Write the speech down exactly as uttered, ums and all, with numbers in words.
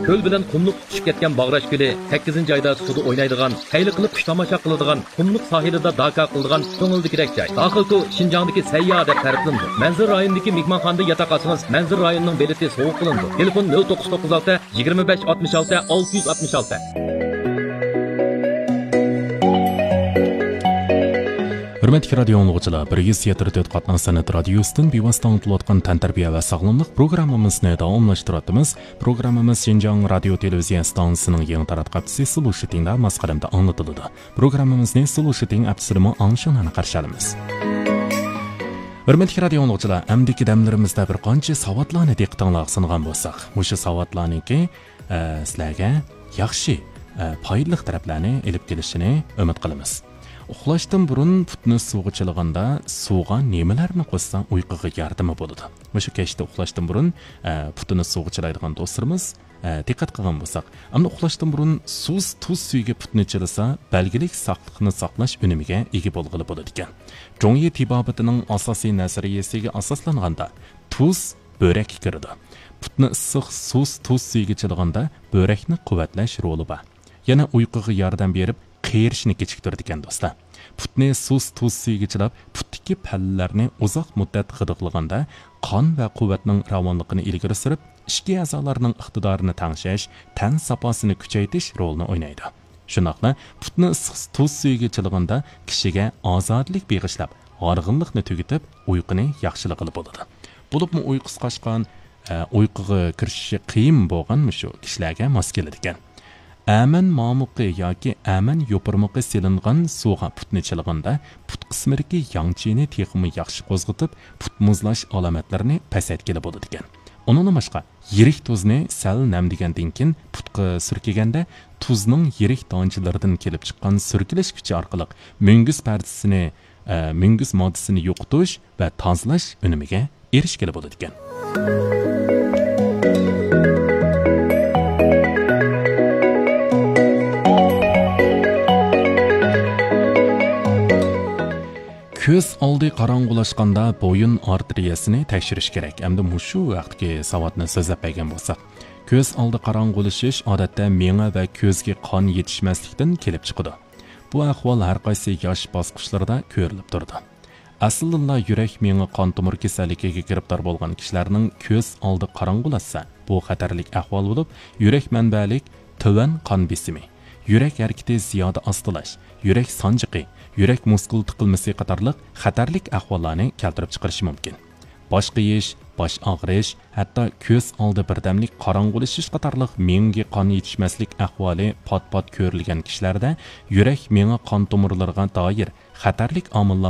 كۆل بىلەن قۇملۇق تۇتىشىپ كەتكەن باغراش كۆلى، سەككىزىنچى ئايدا سۇدا ئوينايدىغان، خەير قىلىپ خۇش تاماشا قىلىدىغان، قۇملۇق ساھىلىدا داكا قىلىدىغان كۆڭۈلدىكىدەك جاي. داخىلكو شىنجاڭدىكى سەيياھ دەپ تەرىپلىنىدۇ. مەنزىرە رايونىدىكى مېھمانخانىدا ياتاق ئالسىڭىز، مەنزىرە رايونىنىڭ بېلىتى سوۋغا قىلىنىدۇ. تېلېفون: نۆل توققۇز توققۇز ئالتە، يىگىرمە بەش ئاتمىش ئالتە، ئالتە يۈز ئاتمىش ئالتە. ھۆرمەتلىك رادىيو ئاڭلىغۇچىلار، بىر يۈز يەتتە تۆت قاتناش سەنئەت رادىيوسىدىن بىۋاسىتە ئاڭلىتىلىۋاتقان تەنتەربىيە ۋە ساغلاملىق پروگراممىمىزنى داۋاملاشتۇرۇۋاتىمىز. پروگراممىمىز شىنجاڭ رادىيو تېلېۋىزىيە ئىستانسىسىنىڭ يېڭى تاراتقۇ ھەپتىسى سلوشىتىڭدا ماس قەدەمدە ئاڭلىتىلىدۇ. پروگراممىمىزنى سلوشىتىڭ ھەپتىسىدىمۇ ئاڭشىڭلارنى قارشى ئالىمىز. ھۆرمەتلىك رادىيو ئاڭلىغۇچىلار، ئەمدىكى دەملىرىمىزدە بىر قانچە ساۋاتلارنى دىققىتىڭلارغا سۇنغان بولساق، مۇشۇ ساۋاتلارنىڭكى، ئە، سىلەرگە ياخشى، ئە، پايدىلىق تەرەپلەرنى ئېلىپ كېلىشىنى ئۈمىد قىلىمىز. ئۇخلاشتىن بۇرۇن پۇتنى سۇغا چىلىغاندا، سۇغا نېمىلەرنى قوشسا ئۇيقۇغا ياردىمى بولىدۇ؟ مۇشۇ كەچتە ئۇخلاشتىن بۇرۇن، ئە، پۇتىنى سۇغا چىلايدىغان دوستلىرىمىز، ئە، دىققەت قىلغان بولساق، ئەمدى ئۇخلاشتىن بۇرۇن سۇس تۇز سۈيىگە پۇتنى چىلىسا، بەلگىلىك ساقلىقنى ساقلاش ئۈنۈمىگە ئىگە بولغىلى بولىدىكەن. جۇڭيى تېبابىتىنىڭ ئاساسىي نەزەرىيەسىگە ئاساسلانغاندا، تۇز بۆرەككە كىرىدۇ. پۇتنى ئىسسىق سۇس تۇز سۈيىگە چىلىغاندا، بۆرەكنى قۇۋۋەتلەش رولى بار. يەنە ئۇيقۇغا ياردەم بېرىپ، قېرىشنى كېچىكتۈرىدىكەن، دوستلار. پۇتنى سۇس تۇز سۈيىگە چىلاپ، پۇتتىكى پەللىلەرنى ئۇزاق مۇددەت غىدىقلىغاندا، قان ۋە قۇۋۋەتنىڭ راۋانلىقىنى ئىلگىرى سۈرۈپ، ئىچكى ئەزالارنىڭ ئىقتىدارىنى تەڭشەش، تەن ساپاسىنى كۈچەيتىش رولىنى ئوينايدۇ. شۇنداقلا پۇتنى ئىسسىق تۇز سۈيىگە چىلىغاندا، كىشىگە ئازادىلىك بېغىشلاپ، ھارغىنلىقنى تۈگىتىپ، ئۇيقۇنى ياخشىلىغىلى بولىدۇ. بولۇپمۇ ئۇيقۇسى قاچقان، ئە، ئۇيقۇغا كىرىشىشى قىيىن بولغان مۇشۇ كىشىلەرگە ماس كېلىدىكەن. ئەمەن مامۇقى ياكى ئەمەن يوپۇرمىقى سېلىنغان سۇغا پۇتنى چىلىغاندا، پۇت قىسمىدىكى ياڭچىنى تېخىمۇ ياخشى قوزغىتىپ، پۇت مۇزلاش ئالامەتلىرىنى پەسەيتكىلى بولىدىكەن. ئۇنىڭدىن باشقا، يىرىك تۇزنى سەل نەمدىگەندىن كېيىن پۇتقا سۈركىگەندە، تۇزنىڭ يىرىك دانچىلىرىدىن كېلىپ چىققان سۈركىلىش كۈچى ئارقىلىق مۈڭگۈز پەردىسىنى، ئە، مۈڭگۈز ماددىسىنى يوقىتىش ۋە تازىلاش ئۈنۈمىگە ئېرىشكىلى بولىدىكەن. كۆز ئالدى قاراڭغۇلاشقاندا بويۇن ئارتېرىيەسىنى تەكشۈرۈش كېرەك. ئەمدى مۇشۇ ھەقتىكى ساۋاتنى سۆزلەپ بەرگەن بولساق، كۆز ئالدى قاراڭغۇلىشىش ئادەتتە مېڭە ۋە كۆزگە قان يېتىشمەسلىكتىن كېلىپ چىقىدۇ. بۇ ئەھۋال ھەر قايسى ياش باسقۇچلىرىدا كۆرۈلۈپ تۇرىدۇ. ئەسلىدىنلا يۈرەك مېڭە قان تومۇر كېسەللىكىگە گىرىپتار بولغان كىشىلەرنىڭ كۆز ئالدى قاراڭغۇلاشسا، بۇ خەتەرلىك ئەھۋال بولۇپ، يۈرەك مەنبەلىك تۆۋەن قان بېسىمى، يۈرەك ھەرىكىتى زىيادە ئاستىلاش، يۈرەك سانجىقى، يۈرەك مۇسكۇل تىقىلمىسى قاتارلىق خەتەرلىك ئەھۋاللارنى كەلتۈرۈپ چىقىرىشى مۇمكىن. باش قېيىش، باش ئاغرىش، ھەتتا كۆز ئالدى بىردەملىك قاراڭغۇلىشىش قاتارلىق مېڭىگە قان يېتىشمەسلىك ئەھۋالى پات-پات كۆرۈلگەن كىشىلەردە يۈرەك مېڭە قان تومۇرلىرىغا دائىر خەتەرلىك ئامىللار